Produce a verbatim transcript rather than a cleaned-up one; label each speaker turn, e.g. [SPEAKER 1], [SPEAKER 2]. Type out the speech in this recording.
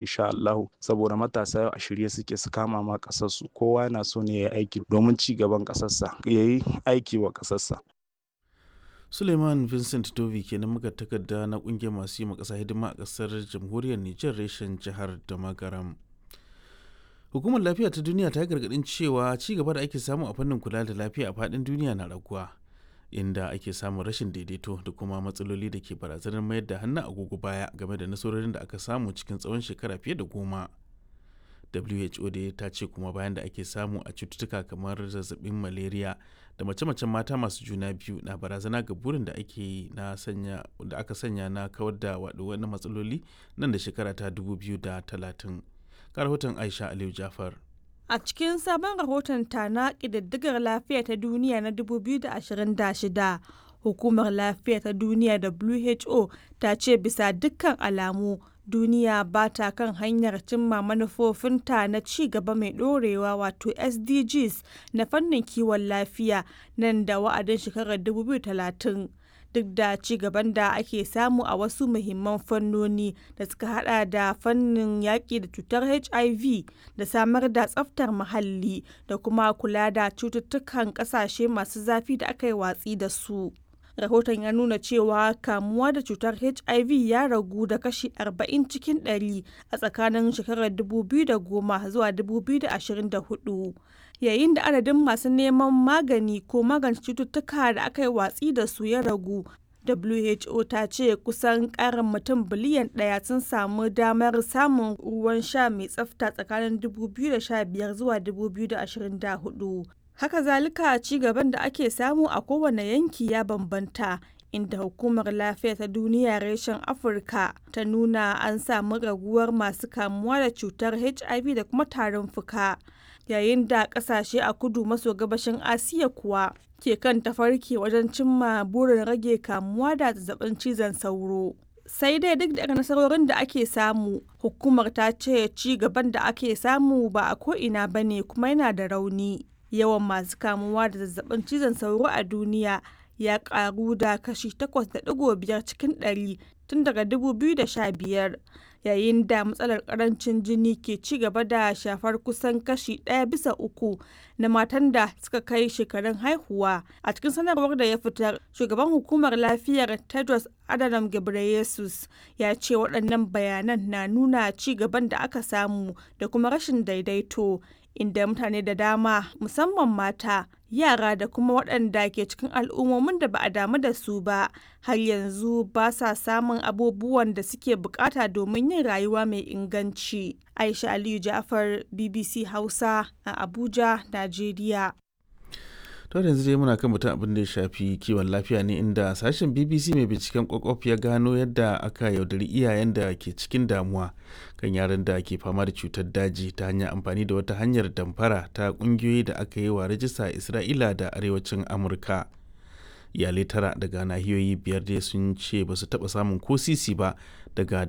[SPEAKER 1] Insha Allahu, saboda matasa yau a shirye suke su kama ma ƙasarsu. Kowa yana so ne ya yi aiki domin ci gaban ƙasarsa, ya yi aiki wa ƙasarsa.
[SPEAKER 2] Suleiman Vincent Dovi kenan muka takarda na kungiyar masu yi ma ƙasa hidima a ƙasar jamhuriyar Nijar reshen jihar Damagaram. Hukumar lafiya ta duniya ta yi gargaɗin cewa ci gaba da ake samu a fannin kula da lafiya a faɗin duniya na raguwa, inda ake samun rashin daidaito da kuma matsaloli da ke barazanar mayar da hannu agogo baya game da nasarorin da aka samu cikin tsawon shekara fiye da goma. W H O dai ta ce kuma bayan da ake samu a cututtuka kamar zazzabin malaria da mace-macen mata masu juna biyu na barazana ga burin da ake yi na sanya da aka sanya na kawar da waɗannan matsaloli nan da shekara ta dubu biyu da talatin. Ga rahoton Aisha Aliyu Jafar.
[SPEAKER 3] A cikin sabon rahoton ta na ƙididdigar lafiya ta duniya na dubu biyu da ashirin da shida, Hukumar Lafiya ta Duniya (W H O) ta ce bisa dukkan alamu duniya ba ta kan hanyar cimma manufofinta na ci gaba mai ɗorewa wato S D Gs na fannin kiwon lafiya nan da wa'adin shekarar dubu biyu da talatin, duk da ci gaban da ake samu a wasu muhimman fannoni da suka hada da fannin yaƙi da cutar H I V da samar da tsaftar muhalli da kuma kula da cututtukan ƙasashe masu zafi da aka yi watsi da su. Rahoton ya nuna cewa kamuwa da cutar H I V ya ragu da kashi arba'in cikin ɗari a tsakanin shekarar dubu biyu da goma zuwa dubu biyu da ashirin da huɗu, yayin da adadin masu neman magani ko magance cututtuka da aka yi watsi da su ya ragu. W H O ta ce kusan ƙarin mutum biliyan ɗaya sun samu damar samun ruwan sha mai tsafta tsakanin dubu biyu da sha biyar zuwa dubu biyu da ashirin da huɗu. Haka zalika, ci gaban da ake samu a kowane yanki ya bambanta, inda Hukumar Lafiya ta Duniya reshen Afirka ta nuna an samu raguwar masu kamuwa da cutar H I V da kuma tarin fuka, yayin da kasashe a kudu maso gabashin Asiya kuwa ke kan tafarki wajen cimma burin rage kamuwa da zazzabin cizon sauro. Sai dai duk da nasarorin da ake samu, hukumar ta ce ci gaban da ake samu ba a ko'ina ba ne kuma yana da rauni. Yawan masu kamuwa da zazzabin cizon sauro a duniya ya karu da kashi takwas da ɗigo biyar cikin ɗari tun daga dubu biyu da sha biyar, yayin da matsalar karancin jini ke ci gaba da shafar kusan kashi ɗaya bisa uku na matan da suka kai shekarun haihuwa. A cikin sanarwar da ya fitar, shugaban hukumar lafiyar Tedros Adhanom Ghebreyesus ya ce waɗannan bayanan na nuna ci gaban da aka samu da kuma rashin daidaito, inda mutane da dama, musamman mata, yara da kuma waɗanda ke cikin al'ummomin da ba a damu da su ba, har yanzu ba sa samun abubuwan da suke bukata domin yin rayuwa mai inganci. Aisha Aliyu Ja'far, B B C Hausa a Abuja, Najeriya.
[SPEAKER 2] To, yanzu dai muna kan batun abin da ya shafi kiwon lafiya ne, inda sashen B B C mai binciken kwakwaf ya gano yadda aka yaudari iyayen da ke cikin damuwa kan yaran da ke fama da cutar daji ta hanyar amfani da wata hanyar damfara ta kungiyoyi da aka yi wa rajista a Isra'ila da arewacin Amurka. Iyalai tara daga nahiyoyi biyar dai sun ce ba su taɓa samun ko sisi ba daga